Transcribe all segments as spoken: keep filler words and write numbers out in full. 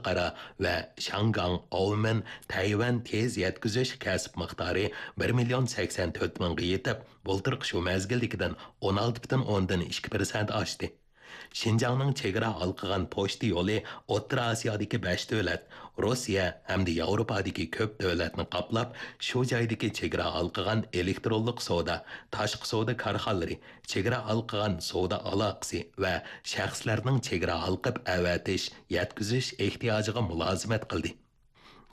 خەلقئارا ۋە شاڭگاڭ، ئاۋمېن، تەيۋەن تېز يەتكۈزۈش كەسىپ مىقدارى بىر مىليون سەكسەن تۆت مىڭغا يېتىپ، بۇلتۇرقى شۇ مەزگىلدىكىدىن ئون ئالتە پۈتۈن ئوندىن ئىككى پىرسەنت ئاشتى. شىنجاڭنىڭ چېگرا ھالقىغان پوچتا يولى ئوتتۇرا ئاسىيادىكى بەش دۆلەت، روسىيە ھەمدە ياۋروپادىكى كۆپ دۆلەتنى قاپلاپ، شۇ جايدىكى چېگرا ھالقىغان ئېلېكترونلۇق سودا، تاشقى سودا كارخانىلىرى، چېگرا ھالقىغان سودا ئالاقىسى ۋە شەخسلەرنىڭ چېگرا ھالقىپ ئەۋەتىش، يەتكۈزۈش ئېھتىياجىغا مۇلازىمەت قىلدى.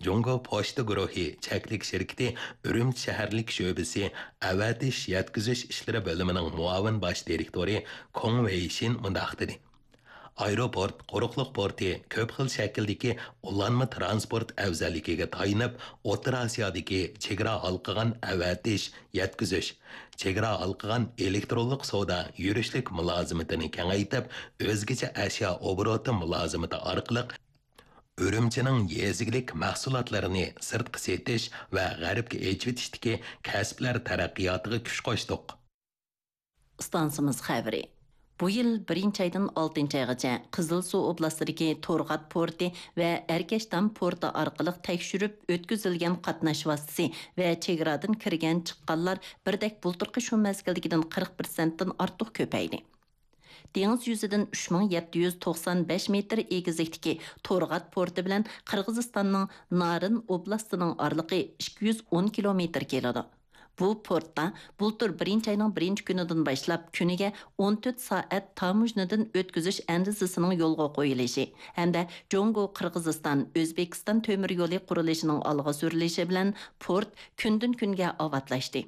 جۇڭگو پوچتا گۇرۇھى چەكلىك شىركىتى ئۈرۈمچى شەھەرلىك شۆبىسى ئەۋەتىش، يەتكۈزۈش ئىشلىرى بۆلۈمىنىڭ مۇئاۋىن باش دىرېكتورى كۇڭ ۋېيشىن مۇنداق دېدى: ئايروپورت، قۇرۇقلۇق پورتى كۆپ خىل شەكىلدىكى ئۇلانما تىرانسپورت ئەۋزەللىكىگە تايىنىپ، ئوتتۇرا ئاسىيادىكى چېگرا ھالقىغان ئەۋەتىش، يەتكۈزۈش، چېگرا ھالقىغان ئېلېكترونلۇق سودا يۈرۈشلۈك مۇلازىمىتىنى كېڭەيتىپ، ئۆزگىچە ئەشيا ئوبوروتى مۇلازىمىتى ئارقىلىق ئۈرۈمچىنىڭ يېزا ئىگىلىك مەھسۇلاتلىرىنى سىرتقا سېتىش ۋە غەربكە ئېچىۋېتىشتىكى كەسىپلەر تەرەققىياتىغا كۈچ قوشتۇق. ئىستانسىمىز خەۋىرى. بۇ يىل بىرىنچى ئايدىن ئالتىنچى ئايغىچە قىزىلسۇ ئوبلاستىدىكى تورغات پورتى ۋە ئەركەشتام پورتى ئارقىلىق تەكشۈرۈپ ئۆتكۈزۈلگەن قاتناش ۋاسىتىسى ۋە چېگرادىن كىرگەن چىققانلار بىردەك بۇلتۇرقى شۇ مەزگىلدىكىدىن قىرىق پىرسەنتتىن ئارتۇق كۆپەيدى. دېڭىز يۈزىدىن ئۈچ مىڭ يەتتە يۈز توقسان بەش مېتىر ئېگىزلىكتىكى تورغات پورتى بىلەن قىرغىزىستاننىڭ نارىن ئوبلاستىنىڭ ئارىلىقى ئىككى يۈز ئون كىلومېتىر كېلىدۇ. بۇ پورتتا بۇلتۇر بىرىنچى ئاينىڭ بىرىنچى كۈنىدىن باشلاپ كۈنىگە ئون تۆت سائەت تاموژنىدىن ئۆتكۈزۈش ئەندىزىسىنىڭ يولغا قويۇلۇشى ھەمدە جۇڭگو قىرغىزىستان ئۆزبېكىستان تۆمۈر يولى قۇرۇلۇشىنىڭ ئالغا سۈرۈلۈشى بىلەن پورت كۈندىن كۈنگە ئاۋاتلاشتى.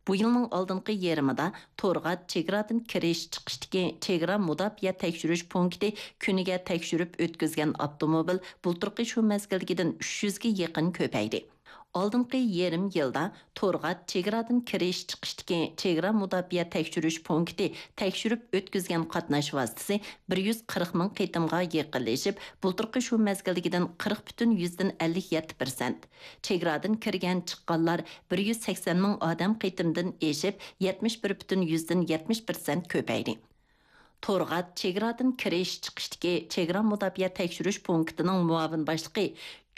بۇ يىلنىڭ ئالدىنقى يېرىمىدا تورغات چېگرادىن كىرىش چىقىشتىكى چېگرا مۇداپىئە تەكشۈرۈش پونكىتى كۈنىگە تەكشۈرۈپ ئۆتكۈزگەن ئاپتوموبىل بۇلتۇرقى شۇ مەزگىلدىكىدىن ئۈچ يۈزگە يېقىن كۆپەيدى. ئالدىنقى يېرىم يىلدا تورغات چېگرادىن كىرىش چىقىشتىكى چېگرا مۇداپىئە تەكشۈرۈش پونكىتى تەكشۈرۈپ ئۆتكۈزگەن قاتناش ۋاسىتىسى بىر يۈز قىرىق مىڭ قېتىمغا يېقىنلىشىپ، بۇلتۇرقى شۇ مەزگىلدىكىدىن قىرىق پۈتۈن يۈزدىن ئەللىك يەتتە پىرسەنت، چېگرادىن كىرگەن چىققانلار بىر يۈز سەكسەن مىڭ ئادەم قېتىمدىن ئېشىپ، يەتمىش بىر پۈتۈن يۈزدىن يەتمىش پىرسەنت كۆپەيدى. تورغات چېگرادىن كىرىش چىقىشتىكى چېگرا مۇداپىئە تەكشۈرۈش پونكىتىنىڭ مۇئاۋىن باشلىقى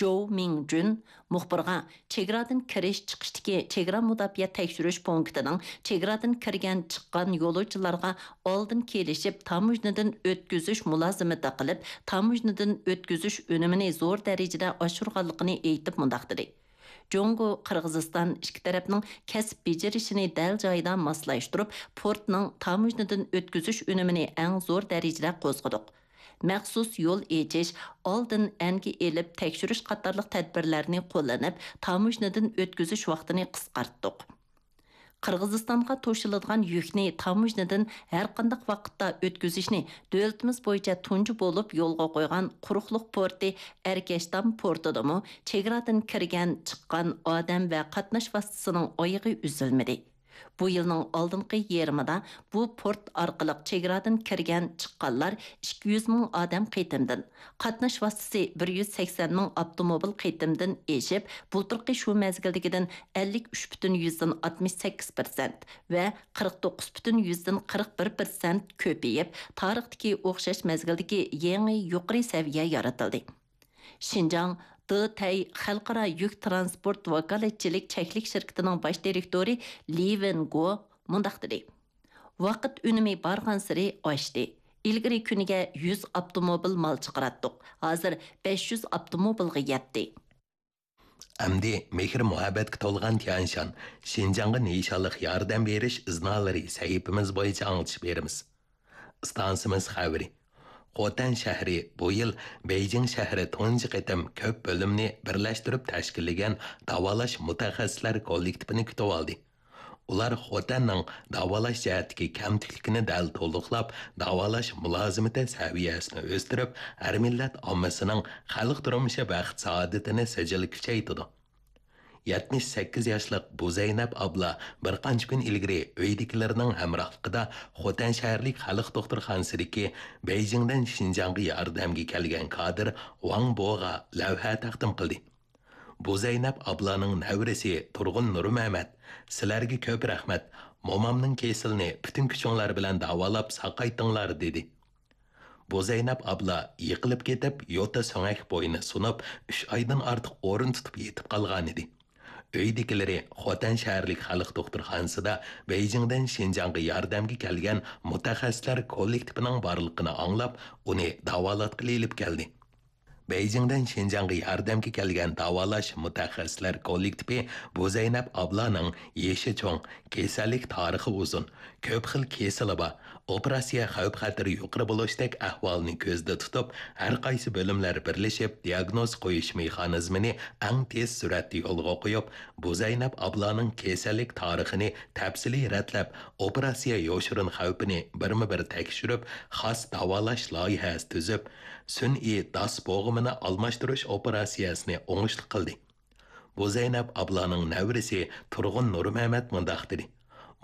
جوۋ مىڭجۈن مۇخبىرغا، چېگرادىن كىرىش چىقىشتىكى چېگرا مۇداپىئە تەكشۈرۈش پونكىتىنىڭ چېگرادىن كىرگەن چىققان يولۇچىلارغا ئالدىن كېلىشىپ تاموژنىدىن ئۆتكۈزۈش مۇلازىمىتى قىلىپ، تاموژنىدىن ئۆتكۈزۈش ئۈنۈمىنى زور دەرىجىدە ئاشۇرغانلىقىنى ئېيتىپ مۇنداق دېدى: جۇڭگو، قىرغىزىستان ئىككى تەرەپنىڭ كەسىپ بېجىرىشىنى دەل جايىدا ماسلاشتۇرۇپ، پورتنىڭ تاموژنىدىن ئۆتكۈزۈش ئۈنۈمىنى ئەڭ زور دەرىجىدە قوزغىدۇق. مەخسۇس يول ئېچىش، ئالدىن ئەنگە ئېلىپ تەكشۈرۈش قاتارلىق تەدبىرلەرنى قوللىنىپ، تاموژنىدىن ئۆتكۈزۈش ۋاقتىنى قىسقارتتۇق. قىرغىزىستانغا توشۇلىدىغان يۈكنى تاموژنىدىن ھەرقانداق ۋاقىتتا ئۆتكۈزۈشنى دۆلىتىمىز بويىچە تۇنجى بولۇپ يولغا قويغان قۇرۇقلۇق پورتى ئەركەشتام پورتىدىمۇ چېگرادىن كىرگەن، چىققان ئادەم ۋە قاتناش ۋاسىتىسىنىڭ ئايىغى ئۈزۈلمىدى. بۇ يىلنىڭ ئالدىنقى يېرىمىدا بۇ پورت ئارقىلىق چېگرادىن كىرگەن، چىققانلار ئىككى يۈز مىڭ ئادەم قېتىمدىن، قاتناش ۋاسىتىسى بىر يۈز سەكسەن مىڭ ئاپتوموبىل قېتىمدىن ئېشىپ، بۇلتۇرقى شۇ مەزگىلدىكىدىن ئەللىك ئۈچ پۈتۈن يۈزدىن ئاتمىش سەككىز پىرسەنت ۋە قىرىق توققۇز پۈتۈن يۈزدىن قىرىق بىر پىرسەنت كۆپىيىپ، تارىختىكى ئوخشاش مەزگىلدىكى يېڭى يۇقىرى سەۋىيە يارىتىلدى. شىنجاڭ دېتەي خەلقئارا يۈك تىرانسپورت ۋاكالەتچىلىك چەكلىك شىركىتىنىڭ باش دىرېكتورى لى ۋېنگو مۇنداق دېدى: ۋاقىت ئۈنۈمى بارغانسېرى ئاشتى. ئىلگىرى كۈنىگە يۈز ئاپتوموبىل مال چىقىراتتۇق، ھازىر بەش يۈز ئاپتوموبىلغا يەتتى. ئەمدى مېھىر-مۇھەببەتكە تولغان تيەنشان، شىنجاڭغا نىشانلىق ياردەم بېرىش ئىزنالىرى سەھىپىمىز بويىچە ئاڭلىتىش بېرىمىز. ئىستانسىمىز خەۋىرى. خوتەن شەھىرى بۇ يىل بېيجىڭ شەھىرى تۇنجى قېتىم كۆپ بۆلۈمنى بىرلەشتۈرۈپ تەشكىللىگەن داۋالاش مۇتەخەسسىسلەر كوللېكتىپىنى كۈتۈۋالدى. ئۇلار خوتەننىڭ داۋالاش جەھەتتىكى كەمتۈكلۈكىنى دەل تولۇقلاپ، داۋالاش مۇلازىمىتى سەۋىيەسىنى ئۆستۈرۈپ، ھەر مىللەت ئاممىسىنىڭ خەلق تۇرمۇشى بەخت-سائادىتىنى سىجىل كۈچەيتىدۇ. يەتمىش سەككىز ياشلىق بۇزەينەپ ئابلا بىر قانچە كۈن ئىلگىرى ئۆيدىكىلىرىنىڭ ھەمراھلىقىدا خوتەن شەھەرلىك خەلق دوختۇرخانىسىدىكى بېيجىڭدىن شىنجاڭغا ياردەمگە كەلگەن كادىر ۋاڭ بوغا لەۋھە تەقدىم قىلدى. بۇزەينەپ ئابلانىڭ نەۋرىسى تۇرغۇن نۇرمەمەت، سىلەرگە كۆپ رەھمەت، مومامنىڭ كېسىلىنى پۈتۈن كۈچۈڭلار بىلەن داۋالاپ ساقايتىڭلار، دېدى. بۇزەينەپ ئابلا يىقىلىپ كېتىپ، يوتا سۆڭەك بوينى سۇنۇپ، ئۈچ ئايدىن ئارتۇق ئورۇن تۇتۇپ يېتىپ قالغانىدى. ئۆيدىكىلىرى خوتەن شەھەرلىك خەلق دوختۇرخانىسىدا بېيجىڭدىن شىنجاڭغا ياردەمگە كەلگەن مۇتەخەسسىسلەر كوللېكتىپىنىڭ بارلىقىنى ئاڭلاپ، ئۇنى داۋالاتقىلى ئېلىپ كەلدى. بېيجىڭدىن شىنجاڭغا ياردەمگە كەلگەن داۋالاش مۇتەخەسسىسلەر كوللېكتىپى بۇزەينەپ ئابلانىڭ يېشى چوڭ، كېسەللىك تارىخى ئۇزۇن، كۆپ خىل كېسىلى بار، ئوپېراتسىيە خەۋپ-خەتىرى يۇقىرى بولۇشتەك ئەھۋالنى كۆزدە تۇتۇپ، ھەر قايسى بۆلۈملەر بىرلىشىپ دىياگنوز قويۇش مېخانىزمىنى ئەڭ تېز سۈرئەتتە يولغا قويۇپ، بۇزەينەپ ئابلانىڭ كېسەللىك تارىخىنى تەپسىلىي رەتلەپ، ئوپېراتسىيە يوشۇرۇن خەۋپىنى بىرمۇ بىر تەكشۈرۈپ، خاس داۋالاش لايىھەسى تۈزۈپ، سۈنئىي داس بوغۇمىنى ئالماشتۇرۇش ئوپېراتسىيەسىنى ئوڭۇشلۇق قىلدى. بۇزەينەپ ئابلانىڭ نەۋرىسى تۇرغۇن نۇرمەمەت مۇنداق دېدى: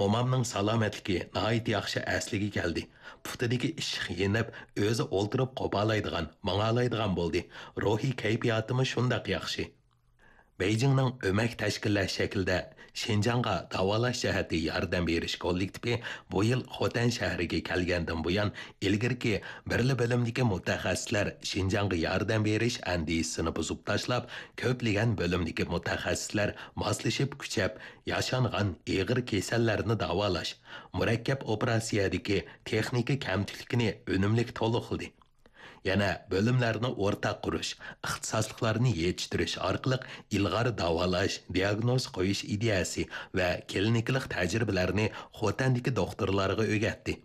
مومامنىڭ سالامەتلىكى ناھايىتى ياخشى ئەسلىگە كەلدى. پۇتىدىكى ئىششىق يېنىپ، ئۆزى ئولتۇرۇپ قوپالايدىغان، ماڭالايدىغان بولدى. روھىي كەيپىياتىمۇ شۇنداق ياخشى. بېيجىڭنىڭ ئۆمەك تەشكىللەش شەكلىدە شىنجاڭغا داۋالاش جەھەتتە ياردەم بېرىش كوللېكتىپى بۇ يىل خوتەن شەھىرىگە كەلگەندىن بۇيان، ئىلگىرىكى بىرلا بۆلۈمدىكى مۇتەخەسسىسلەر شىنجاڭغا ياردەم بېرىش ئەندىزىسىنى بۇزۇپ تاشلاپ، كۆپلىگەن بۆلۈمدىكى مۇتەخەسسىسلەر ماسلىشىپ كۈچەپ، ياشانغان ئېغىر كېسەللەرنى داۋالاش، مۇرەككەپ ئوپېراتسىيەدىكى تېخنىكا كەمتۈكلۈكىنى ئۈنۈملۈك تولۇقلىدى. يەنە بۆلۈملەرنى ئورتاق قۇرۇش، ئىختىساسلىقلارنى يېتىشتۈرۈش ئارقىلىق ئىلغار داۋالاش، دىياگنوز قويۇش ئىدىيەسى ۋە كلىنىكىلىق تەجرىبىلەرنى خوتەندىكى دوختۇرلارغا ئۆگەتتى.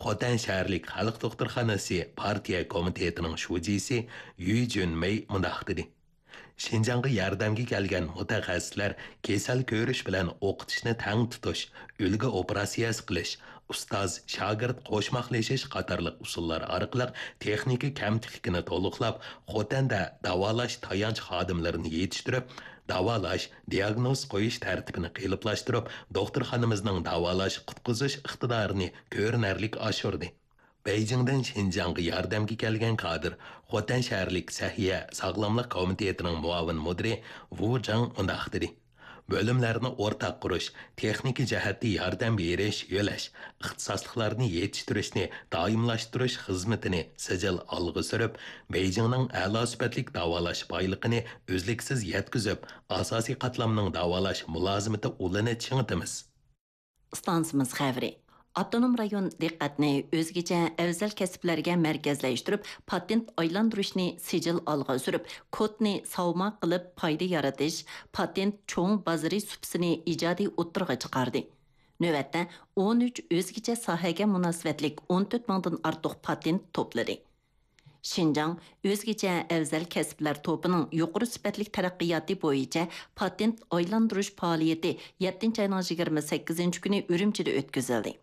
خوتەن شەھەرلىك خەلق دوختۇرخانىسى پارتىيە كومىتېتىنىڭ شۇجىسى يۈ جۈنمېي مۇنداق دېدى: شىنجاڭغا ياردەمگە كەلگەن مۇتەخەسسىسلەر كېسەل كۆرۈش بىلەن ئوقۇتۇشنى تەڭ تۇتۇش، ئۈلگە ئوپېراتسىيەسى قىلىش، ئۇستاز-شاگىرت قوشماقلىشىش قاتارلىق ئۇسۇللار ئارقىلىق تېخنىكا كەمتۈكلۈكىنى تولۇقلاپ، خوتەندە داۋالاش تايانچ خادىملىرىنى يېتىشتۈرۈپ، داۋالاش، دىياگنوز قويۇش تەرتىپىنى قېلىپلاشتۇرۇپ، دوختۇرخانىمىزنىڭ داۋالاش، قۇتقۇزۇش ئىقتىدارىنى كۆرۈنەرلىك ئاشۇردى. بېيجىڭدىن شىنجاڭغا ياردەمگە كەلگەن كادىر، خوتەن شەھەرلىك سەھىيە ساغلاملىق كومىتېتىنىڭ مۇئاۋىن مۇدىرى ۋۇ جاڭ مۇنداق دېدى: بۆلۈملەرنى ئورتاق قۇرۇش، تېخنىكا جەھەتتە ياردەم بېرىش، يۆلەش، ئىختىساسلىقلارنى يېتىشتۈرۈشنى دائىملاشتۇرۇش خىزمىتىنى سىجىل ئالغا سۈرۈپ، بېيجىڭنىڭ ئەلا سۈپەتلىك داۋالاش بايلىقىنى ئۈزلۈكسىز يەتكۈزۈپ، ئاساسىي قاتلامنىڭ داۋالاش مۇلازىمىتى ئۇلىنى چىڭىتىمىز. ئىستانسىمىز خەۋىرى. ئاپتونوم رايون دىققەتنى ئۆزگىچە ئەۋزەل كەسىپلەرگە مەركەزلەشتۈرۈپ، پاتېنت ئايلاندۇرۇشنى سىجىل ئالغا سۈرۈپ، كودنى ساۋما قىلىپ پايدا يارىتىش، پاتېنت چوڭ بازىرى سۇپىسىنى ئىجادىي ئوتتۇرىغا چىقاردى. نۆۋەتتە ئون ئۈچ ئۆزگىچە ساھەگە مۇناسىۋەتلىك ئون تۆت مىڭدىن ئارتۇق پاتېنت توپلىدى. شىنجاڭ ئۆزگىچە ئەۋزەل كەسىپلەر توپىنىڭ يۇقىرى سۈپەتلىك تەرەققىياتى بويىچە پاتېنت ئايلاندۇرۇش پائالىيىتى يەتتىنچى ئاينىڭ يىگىرمە سەككىزىنچى كۈنى ئۈرۈمچىدە ئۆتكۈزۈلدى.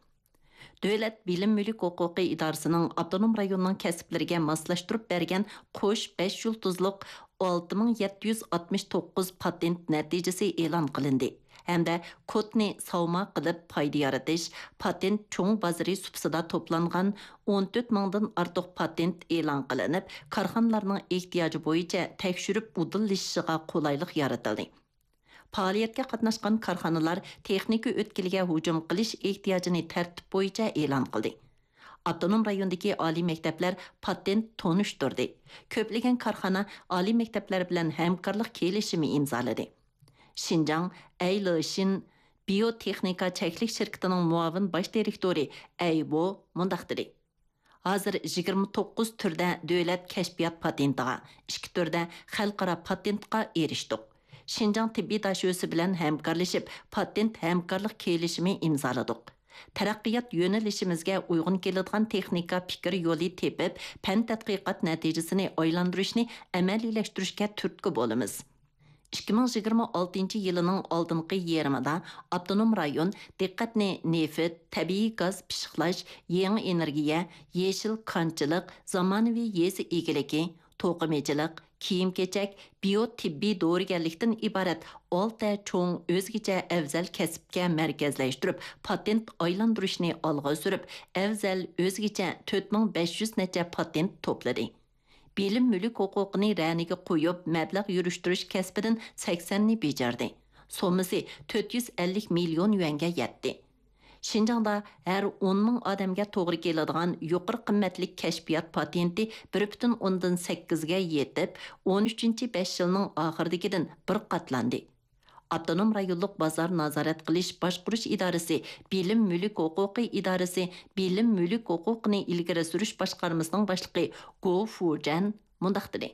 دۆلەت بىلىم مۈلۈك ھوقۇقى ئىدارىسىنىڭ ئاپتونوم رايوننىڭ كەسىپلىرىگە ماسلاشتۇرۇپ بەرگەن قوش بەش يۇلتۇزلۇق ئالتە مىڭ يەتتە يۈز ئاتمىش توققۇز پاتېنت نەتىجىسى ئېلان قىلىندى ھەمدە كودنى ساۋما قىلىپ پايدا يارىتىش، پاتېنت چوڭ بازىرى سۇپىسىدا توپلانغان ئون تۆت مىڭدىن ئارتۇق پاتېنت ئېلان قىلىنىپ، كارخانىلارنىڭ ئېھتىياجى بويىچە تەكشۈرۈپ ئۇدۇللىشىشىغا قولايلىق يارىتىلدى. پائالىيەتكە قاتناشقان كارخانىلار تېخنىكا ئۆتكىلىگە ھۇجۇم قىلىش ئېھتىياجىنى تەرتىپ بويىچە ئېلان قىلدى. ئاپتونوم رايوندىكى ئالىي مەكتەپلەر پاتېنت تونۇشتۇردى. كۆپلىگەن كارخانا ئالىي مەكتەپلەر بىلەن ھەمكارلىق كېلىشىمى ئىمزالىدى. شىنجاڭ ئەي لېشىن بىيوتېخنىكا چەكلىك شىركىتىنىڭ مۇئاۋىن باش دىرېكتورى ئەي ۋو مۇنداق دېدى: ھازىر يىگىرمە توققۇز تۈردە دۆلەت كەشپىيات پاتېنتىغا، ئىككى تۈردە خەلقئارا پاتېنتقا ئېرىشتۇق. شىنجاڭ تېببىي داشۆسى بىلەن ھەمكارلىشىپ، پاتېنت ھەمكارلىق كېلىشىمى ئىمزالىدۇق. تەرەققىيات يۆنىلىشىمىزگە ئۇيغۇن كېلىدىغان تېخنىكا پىكىر يولى تېپىپ، پەن تەتقىقات نەتىجىسىنى ئايلاندۇرۇشنى ئەمەلىيلەشتۈرۈشكە تۈرتكە بولىمىز. ئىككى مىڭ يىگىرمە ئالتىنچى يىلىنىڭ ئالدىنقى يېرىمىدا ئاپتونوم رايون دىققەتنى نېفىت، تەبىئىي گاز پىششىقلاش، يېڭى ئېنېرگىيە، يېشىل كانچىلىق، زامانىۋى يېزا ئىگىلىكى، توقۇمىچىلىق، كىيىم-كېچەك، بىيو تېببىي دورىگەرلىكتىن ئىبارەت ئالتە چوڭ ئۆزگىچە ئەۋزەل كەسىپكە مەركەزلەشتۈرۈپ، پاتېنت ئايلاندۇرۇشنى ئالغا سۈرۈپ، ئەۋزەل ئۆزگىچە تۆت مىڭ بەش يۈز نەچچە پاتېنت توپلىدى. بىلىم مۈلۈك ھوقۇقىنى رەنىگە قويۇپ، مەبلەغ يۈرۈشتۈرۈش كەسپىدىن سەكسەننى بېجىردى. سوممىسى تۆت يۈز ئەللىك مىليون يۈەنگە يەتتى. شىنجاڭدا ھەر ئون مىڭ ئادەمگە توغرا كېلىدىغان يۇقىرى قىممەتلىك كەشپىيات پاتېنتى بىر پۈتۈن ئوندىن سەككىزگە يېتىپ، ئون ئۈچىنچى بەش يىلنىڭ ئاخىرىدىكىدىن بىر قاتلاندى. ئاپتونوم رايونلۇق بازار نازارەت قىلىش باشقۇرۇش ئىدارىسى بىلىم مۈلۈك ھوقۇقى ئىدارىسى بىلىم مۈلۈك ھوقۇقىنى ئىلگىرى سۈرۈش باشقارمىسىنىڭ باشلىقى گو فۇجەن مۇنداق دېدى: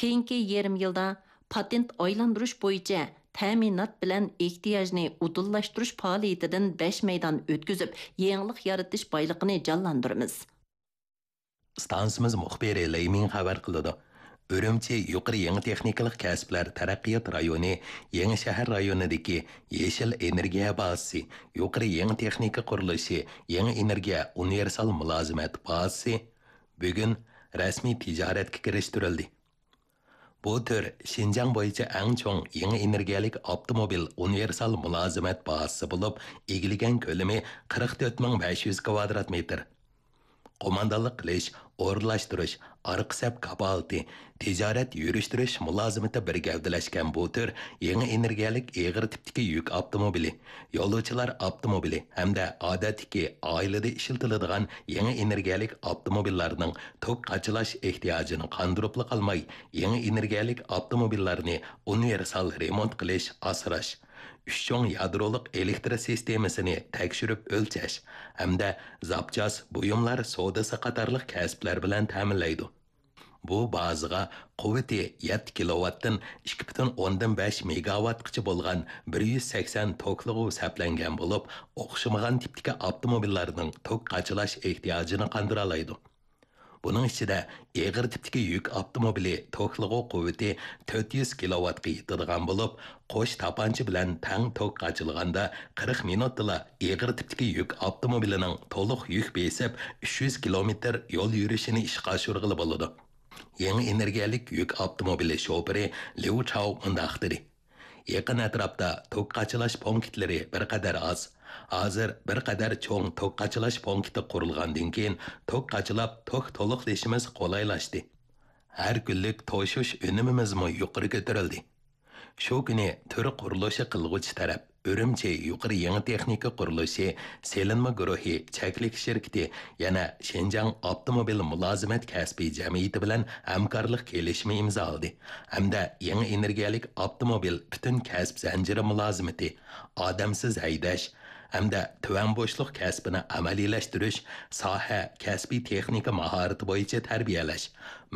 كېيىنكى يېرىم يىلدا پاتېنت ئايلاندۇرۇش بويىچە تەمىنات بىلەن ئېھتىياجنى ئۇدۇللاشتۇرۇش پائالىيىتىدىن بەش مەيدان ئۆتكۈزۈپ، يېڭىلىق يارىتىش بايلىقىنى جانلاندۇرىمىز. ئىستانسىمىز مۇخبىرى لېي مىڭ خەۋەر قىلىدۇ. ئۈرۈمچى يۇقىرى يېڭى تېخنىكىلىق كەسىپلەر تەرەققىيات رايونى يېڭى شەھەر رايونىدىكى يېشىل ئېنېرگىيە بازىسى، يۇقىرى يېڭى تېخنىكا قۇرۇلۇشى، يېڭى ئېنېرگىيە ئۇنىۋېرسال مۇلازىمەت بازىسى بۈگۈن رەسمىي تىجارەتكە كىرىشتۈرۈلدى. بۇ تۈر شىنجاڭ بويىچە ئەڭ چوڭ يېڭى ئېنېرگىيەلىك ئاپتوموبىل ئۇنىۋېرسال مۇلازىمەت بازىسى بولۇپ، ئىگىلىگەن كۆلىمى قىرىق تۆت مىڭ بەش يۈز كۋادرات مېتىر. قوماندانلىق قىلىش، ئورۇنلاشتۇرۇش، ئارقا سەپ كاپالىتى، تىجارەت يۈرۈشتۈرۈش مۇلازىمىتى بىر گەۋدىلەشكەن بۇ تۈر يېڭى ئېنېرگىيەلىك ئېغىر تىپتىكى يۈك ئاپتوموبىلى، يولۇچىلار ئاپتوموبىلى ھەمدە ئادەتتىكى ئائىلىدە ئىشلىتىلىدىغان يېڭى ئېنېرگىيەلىك ئاپتوموبىللارنىڭ توك قاچىلاش ئېھتىياجىنى قاندۇرۇپلا قالماي، يېڭى ئېنېرگىيەلىك ئاپتوموبىللارنى ئۇنىۋېرسال رېمونت قىلىش، ئاسراش، ئۈچ چوڭ يادرولۇق ئېلېكتر سىستېمىسىنى تەكشۈرۈپ ئۆلچەش ھەمدە زاپچاس بۇيۇملار سودىسى قاتارلىق كەسىپلەر بىلەن تەمىنلەيدۇ. بۇ بازىغا قۇۋۋىتى يەتتە كىلوۋاتتىن ئىككى پۈتۈن ئوندىن بەش مېگاۋاتقىچە بولغان بىر يۈز سەكسەن توكلىغۇ سەپلەنگەن بولۇپ، ئوخشىمىغان تىپتىكى ئاپتوموبىللارنىڭ توك قاچىلاش ئېھتىياجىنى قاندۇرالايدۇ. بۇنىڭ ئىچىدە ئېغىر تىپتىكى يۈك ئاپتوموبىلى توكلىغۇ قۇۋۋىتى تۆت يۈز كىلوۋاتقا يېتىدىغان بولۇپ، قوش تاپانچا بىلەن تەڭ توك قاچىلىغاندا قىرىق مىنۇتتىلا ئېغىر تىپتىكى يۈك ئاپتوموبىلىنىڭ تولۇق يۈك بېسىپ، ئۈچ يۈز كىلومېتىر يول يۈرۈشىنى ئىشقا ئاشۇرغىلى بولىدۇ. يېڭى ئېنېرگىيەلىك يۈك ئاپتوموبىلى شوپۇرى ليۇ چاۋ مۇنداق دېدى: يېقىن ئەتراپتا توك قاچىلاش پونكىتلىرى بىر قەدەر ئاز. ھازىر بىر قەدەر چوڭ توك قاچىلاش پونكىتى قۇرۇلغاندىن كېيىن، توك قاچىلاپ، توك تولۇقلىشىمىز قولايلاشتى. ھەر كۈنلۈك توشۇش ئۈنۈمىمىزمۇ يۇقىرى كۆتۈرۈلدى. شۇ كۈنى تۈر قۇرۇلۇشى قىلغۇچى تەرەپ ئۈرۈمچى يۇقىرى يېڭى تېخنىكا قۇرۇلۇشى سېلىنما گۇرۇھى چەكلىك شىركىتى يەنە شىنجاڭ ئاپتوموبىل مۇلازىمەت كەسپىي جەمئىيىتى بىلەن ھەمكارلىق كېلىشىمى ئىمزالىدى ھەمدە يېڭى ئېنېرگىيەلىك ئاپتوموبىل پۈتۈن كەسىپ زەنجىرى مۇلازىمىتى، ئادەمسىز ھەيدەش ھەمدە تۆۋەن بوشلۇق كەسپىنى ئەمەلىيلەشتۈرۈش، ساھە، كەسپىي تېخنىكا ماھارىتى بويىچە تەربىيەلەش،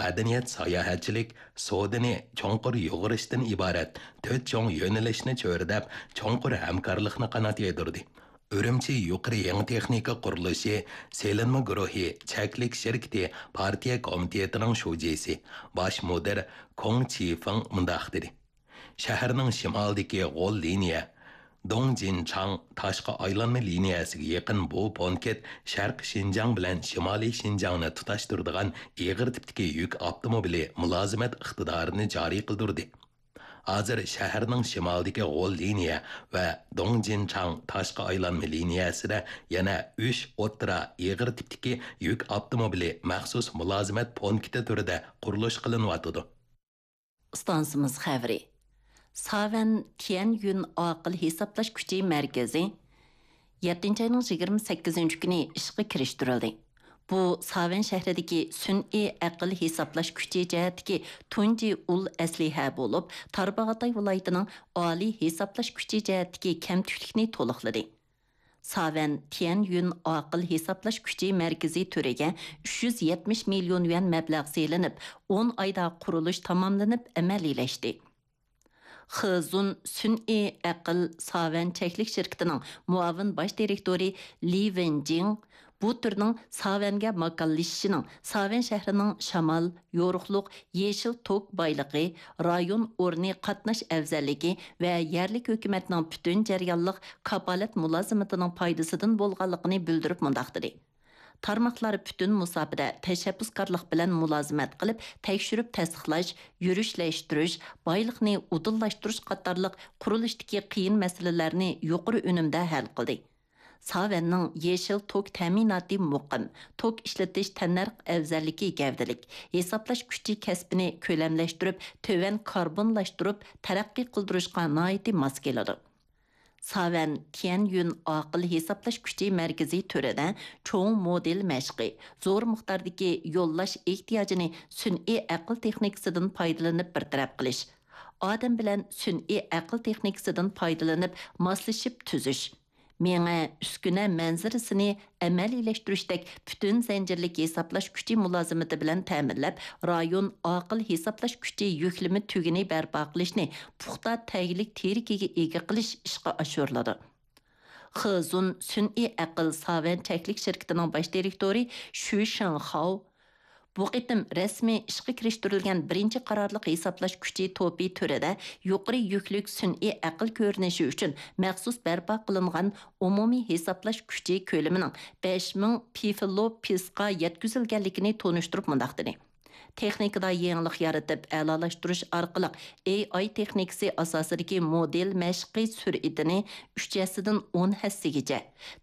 مەدەنىيەت، ساياھەتچىلىك، سودىنى چوڭقۇر يۇغۇرۇشتىن ئىبارەت تۆت چوڭ يۆنىلىشنى چۆرىدەپ، چوڭقۇر ھەمكارلىقنى قانات يايدۇردى. ئۈرۈمچى يۇقىرى يېڭى تېخنىكا قۇرۇلۇشى سېلىنما گۇرۇھى چەكلىك شىركىتى پارتىيە كومىتېتىنىڭ شۇجىسى، باش مۇدىر كوڭ چىفېڭ مۇنداق دېدى: شەھەرنىڭ شىمالىدىكى غول لىنىيە، دۇڭجىنچاڭ تاشقى ئايلانما لىنىيەسىگە يېقىن بۇ پونكىت شەرقىي شىنجاڭ بىلەن شىمالىي شىنجاڭنى تۇتاشتۇرىدىغان ئېغىر تىپتىكى يۈك ئاپتوموبىلى مۇلازىمەت ئىقتىدارىنى جارى قىلدۇردى. ھازىر شەھەرنىڭ شىمالىدىكى غول لىنىيە ۋە دۇڭجىنچاڭ تاشقى ئايلانما لىنىيەسىدە يەنە ئۈچ ئوتتۇرا ئېغىر تىپتىكى يۈك ئاپتوموبىلى مەخسۇس مۇلازىمەت پونكىتى تۈرىدە قۇرۇلۇش قىلىنىۋاتىدۇ. ئىستانسىمىز خەۋىرى. ساۋەن تيەنيۈن ئاقىل ھېسابلاش كۈچى مەركىزى يەتتىنچى ئاينىڭ يىگىرمە سەككىزىنچى كۈنى ئىشقا كىرىشتۈرۈلدى. بۇ ساۋەن شەھىرىدىكى سۈنئىي ئەقىل ھېسابلاش كۈچى جەھەتتىكى تۇنجى ئۇل ئەسلىھە بولۇپ، تارباغاتاي ۋىلايىتىنىڭ ئالىي ھېسابلاش كۈچى جەھەتتىكى كەمتۈكلۈكنى تولۇقلىدى. ساۋەن تيەنيۈن ئاقىل ھېسابلاش كۈچى مەركىزى تۈرىگە ئۈچ يۈز يەتمىش مىليون يۈەن مەبلەغ سېلىنىپ، ئون ئايدا قۇرۇلۇش تاماملىنىپ ئەمەلىيلەشتى. خېزۇن سۈنئىي ئەقىل ساۋەن چەكلىك شىركىتىنىڭ مۇئاۋىن باش دىرېكتورى لى ۋېنجىڭ بۇ تۈرنىڭ ساۋەنگە ماكانلىشىشىنىڭ، ساۋەن شەھىرىنىڭ شامال، يورۇقلۇق، يېشىل توك بايلىقى، رايون ئورنى قاتناش ئەۋزەللىكى ۋە يەرلىك ھۆكۈمەتنىڭ پۈتۈن جەريانلىق كاپالەت مۇلازىمىتىنىڭ پايدىسىدىن بولغانلىقىنى بىلدۈرۈپ مۇنداق دېدى: تارماقلار پۈتۈن مۇساپىدە تەشەببۇسكارلىق بىلەن مۇلازىمەت قىلىپ، تەكشۈرۈپ تەستىقلاش، يۈرۈشلەشتۈرۈش، بايلىقنى ئۇدۇللاشتۇرۇش قاتارلىق قۇرۇلۇشتىكى قىيىن مەسىلىلەرنى يۇقىرى ئۈنۈمدە ھەل قىلدى. ساۋەننىڭ يېشىل توك تەمىناتى مۇقىم، توك ئىشلىتىش تەننەرخ ئەۋزەللىكى گەۋدىلىك، ھېسابلاش كۈچى كەسپىنى كۆلەملەشتۈرۈپ، تۆۋەن كاربونلاشتۇرۇپ تەرەققىي قىلدۇرۇشقا ناھايىتى ماس كېلىدۇ. ساۋەن تيەنيۈن ئاقىل ھېسابلاش كۈچى مەركىزى تۈرىدە چوڭ مودېل مەشقى، زور مىقداردىكى يوللاش ئېھتىياجىنى سۈنئىي ئەقىل تېخنىكىسىدىن پايدىلىنىپ بىر تەرەپ قىلىش، ئادەم بىلەن سۈنئىي ئەقىل تېخنىكىسىدىن پايدىلىنىپ ماسلىشىپ تۈزۈش، مېڭە، ئۈسكۈنە مەنزىرىسىنى ئەمەلىيلەشتۈرۈشتەك پۈتۈن زەنجىرلىك ھېسابلاش كۈچى مۇلازىمىتى بىلەن تەمىنلەپ، رايون ئاقىل ھېسابلاش كۈچى يۈكلىمە تۈگۈنى بەرپا قىلىشنى پۇختا تەگلىك تىرىكىگە ئىگە قىلىش ئىشقا ئاشۇرۇلىدۇ. خېزۇن سۈنئىي ئەقىل ساۋەن چەكلىك شىركىتىنىڭ باش دىرېكتورى شۈ شېڭخاۋ بۇ قېتىم رەسمىي ئىشقا كىرىشتۈرۈلگەن بىرىنچى قارارلىق ھېسابلاش كۈچى توپى تۈرىدە يۇقىرى يۈكلۈك سۈنئىي ئەقىل كۆرۈنۈشى ئۈچۈن مەخسۇس بەرپا قىلىنغان ئومۇمىي ھېسابلاش كۈچى كۆلىمىنىڭ بەش مىڭ پىفلوپىسقا يەتكۈزۈلگەنلىكىنى تونۇشتۇرۇپ مۇنداق دېدى: تېخنىكىدا يېڭىلىق يارىتىپ، ئەلالاشتۇرۇش ئارقىلىق ئېي ئاي تېخنىكىسى ئاساسىدىكى مودېل مەشقى سۈرئىتىنى ئۈچ ھەسسىدىن ئون ھەسسىگىچە،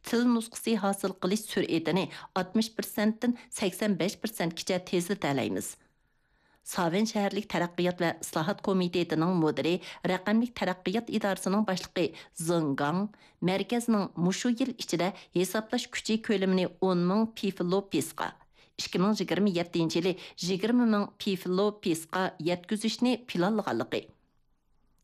تىل نۇسخىسى ھاسىل قىلىش سۈرئىتىنى ئاتمىش پىرسەنتتىن سەكسەن بەش پىرسەنتكىچە تېزلىتەلەيمىز. ساۋەن شەھەرلىك تەرەققىيات ۋە ئىسلاھات كومىتېتىنىڭ مۇدىرى، رەقەملىك تەرەققىيات ئىدارىسىنىڭ باشلىقى زېڭ گاڭ مەركەزنىڭ مۇشۇ يىل ئىچىدە ھېسابلاش كۈچى كۆلىمىنى ئون مىڭ پىفلوپىسقا، ئىككى مىڭ يىگىرمە يەتتىنچى يىلى يىگىرمە مىڭ پىفلوپىسقا يەتكۈزۈشنى پىلانلىغانلىقى،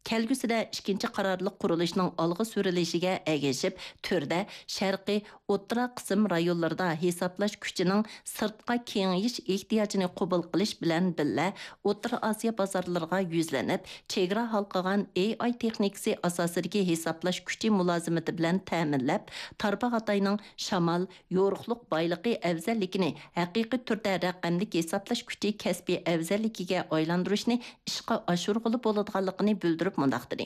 كەلگۈسىدە ئىككىنچى قارارلىق قۇرۇلۇشنىڭ ئالغا سۈرۈلۈشىگە ئەگىشىپ، تۈردە شەرقىي، ئوتتۇرا قىسىم رايونلىرىدا ھېسابلاش كۈچىنىڭ سىرتقا كېڭىيىش ئېھتىياجىنى قوبۇل قىلىش بىلەن بىللە، ئوتتۇرا ئاسىيا بازارلىرىغا يۈزلىنىپ، چېگرا ھالقىغان ئېي ئاي تېخنىكىسى ئاساسىدىكى ھېسابلاش كۈچى مۇلازىمىتى بىلەن تەمىنلەپ، تارباغاتاينىڭ شامال، يورۇقلۇق بايلىقى ئەۋزەللىكىنى ھەقىقىي تۈردە رەقەملىك ھېسابلاش كۈچى كەسپىي ئەۋزەللىكىگە ئايلاندۇرۇشنى ئىشقا ئاشۇرغىلى بولىدىغانلىقىنى بىلدۈرۈپ مۇنداق دېدى: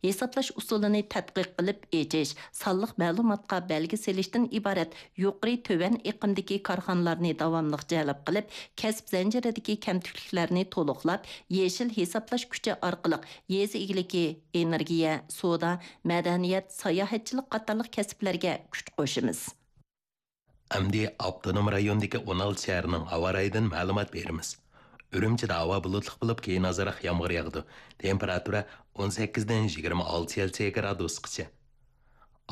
ھېسابلاش ئۇسۇلىنى تەتقىق قىلىپ ئېچىش، سانلىق مەلۇماتقا بەلگە سېلىشتىن ئىبارەت يۇقىرى تۆۋەن ئېقىمدىكى كارخانىلارنى داۋاملىق جەلپ قىلىپ، كەسىپ زەنجىرىدىكى كەمتۈكلۈكلەرنى تولۇقلاپ، يېشىل ھېسابلاش كۈچى ئارقىلىق يېزا ئىگىلىكى، ئېنېرگىيە، سودا، مەدەنىيەت، ساياھەتچىلىك قاتارلىق كەسىپلەرگە كۈچ قوشىمىز. ئەمدى ئاپتونوم رايوندىكى ئون ئالتە شەھەرنىڭ ھاۋا رايىدىن مەلۇمات بېرىمىز. ئۈرۈمچىدە ھاۋا بۇلۇتلۇق بولۇپ، كېيىن ئازراق يامغۇر ياغىدۇ. تېمپېراتۇرا ئون سەككىزدىن يىگىرمە ئالتە سېلسىيە گرادۇسقىچە.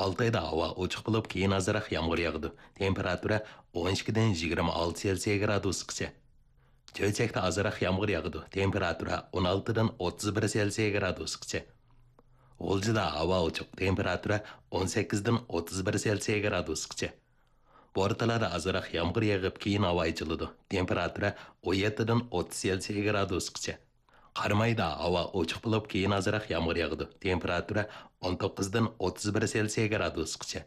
ئالتايدا ھاۋا ئوچۇق بولۇپ، كېيىن ئازراق يامغۇر ياغىدۇ. تېمپېراتۇرا ئون ئىككىدىن يىگىرمە ئالتە سېلسىيە گرادۇسقىچە. چۆچەكتە ئازراق يامغۇر ياغىدۇ. تېمپېراتۇرا ئون ئالتىدىن ئوتتۇز بىر سېلسىيە گرادۇسقىچە. غۇلجىدا ھاۋا ئوچۇق. تېمپېراتۇرا ئون سەككىزدىن ئوتتۇز بىر سېلسىيە گرادۇسقىچە. بورتالادا ئازراق يامغۇر يېغىپ، كېيىن ھاۋا ئېچىلىدۇ. تېمپېراتۇرا ئون يەتتىدىن ئوتتۇز سېلسىيە گرادۇسقىچە. قارامايدا ھاۋا ئوچۇق بولۇپ، كېيىن ئازراق يامغۇر ياغىدۇ. تېمپېراتۇرا ئون توققۇزدىن ئوتتۇز بىر سېلسىيە گرادۇسقىچە.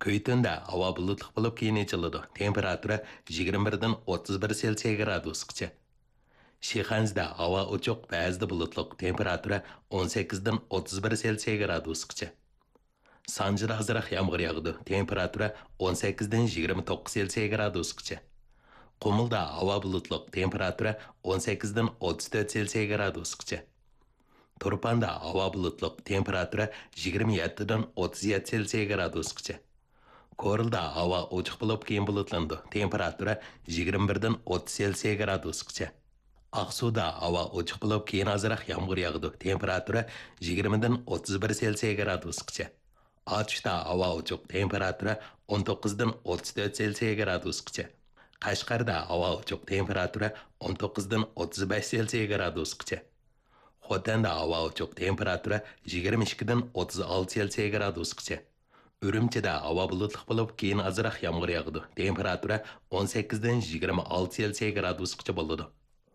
كۈيتۈندە ھاۋا بۇلۇتلۇق بولۇپ، كېيىن ئېچىلىدۇ. تېمپېراتۇرا يىگىرمە بىردىن ئوتتۇز بىر سېلسىيە گرادۇسقىچە. شىخەنزىدە ھاۋا ئوچۇق، بەزىدە بۇلۇتلۇق، تېمپېراتۇرا ئون سەككىزدىن ئوتتۇز بىر سېلسىيە گرادۇسقىچە. سانجىدا ئازراق يامغۇر ياغىدۇ، تېمپېراتۇرا ئون سەككىزدىن يىگىرمە توققۇز سېلسىيە گرادۇسقىچە. قۇمۇلدا ھاۋا بۇلۇتلۇق، تېمپېراتۇرا ئون سەككىزدىن ئوتتۇز تۆت سېلسىيە گرادۇسقىچە. تۇرپاندا ھاۋا بۇلۇتلۇق، تېمپېراتۇرا يىگىرمە يەتتىدىن ئوتتۇز يەتتە سېلسىيە گرادۇسقىچە. كورلىدا ھاۋا ئوچۇق بولۇپ، كېيىن بۇلۇتلىنىدۇ، تېمپېراتۇرا يىگىرمە بىردىن ئوتتۇز سېلسىيە گرادۇسقىچە. ئاقسۇدا ھاۋا ئوچۇق بولۇپ، كېيىن ئازراق يامغۇر ياغىدۇ، تېمپېراتۇرا يىگىرمىدىن ئوتتۇز بىر سېلسىيە گرادۇسقىچە. ئاتۇشتا ھاۋا ئوچۇق، تېمپېراتۇرا ئون توققۇزدىن ئوتتۇز تۆت سېلسىيە گرادۇسقىچە. قەشقەردە ھاۋا ئوچۇق، تېمپېراتۇرا ئون توققۇزدىن ئوتتۇز بەش سېلسىيە گرادۇسقىچە. خوتەندە ھاۋا ئوچۇق، تېمپېراتۇرا يىگىرمە ئىككىدىن ئوتتۇز ئالتە سېلسىيە گرادۇسقىچە. ئۈرۈمچىدە ھاۋا بۇلۇتلۇق بولۇپ، كېيىن ئازراق يامغۇر ياغىدۇ، تېمپېراتۇرا ئون سەككىزدىن يىگىرمە ئالتە سېلسىيە گرادۇسقىچە بولىدۇ.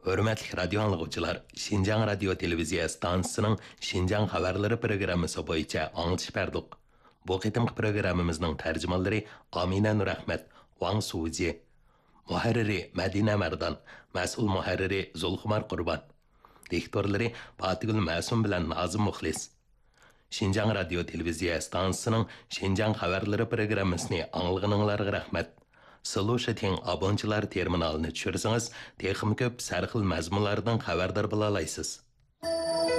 ھۆرمەتلىك رادىيو ئاڭلىغۇچىلار، شىنجاڭ رادىيو تېلېۋىزىيە ئىستانسىسىنىڭ شىنجاڭ خەۋەرلىرى پروگراممىسى بويىچە ئاڭلىتىش بەردۇق. بۇ قېتىمقى پروگراممىمىزنىڭ تەرجىمانلىرى ئامىنە نۇرئەخمەت، ۋاڭ سۇجى. مۇھەررىرى مەدىنە مەردان، مەسئۇل مۇھەررىرى زۇلخۇمار قۇربان. دىكتورلىرى پاتىگۈل مەسۇم بىلەن نازىم مۇخلىس. شىنجاڭ رادىيو تېلېۋىزىيە ئىستانسىسىنىڭ شىنجاڭ خەۋەرلىرى پروگراممىسىنى ئاڭلىغىنىڭلارغا رەھمەت. سىلۇشىتىڭ ئابونچىلار تېرمىنالىنى چۈشۈرسىڭىز، تېخىمۇ كۆپ سەرخىل مەزمۇنلاردىن خەۋەردار بولالايسىز.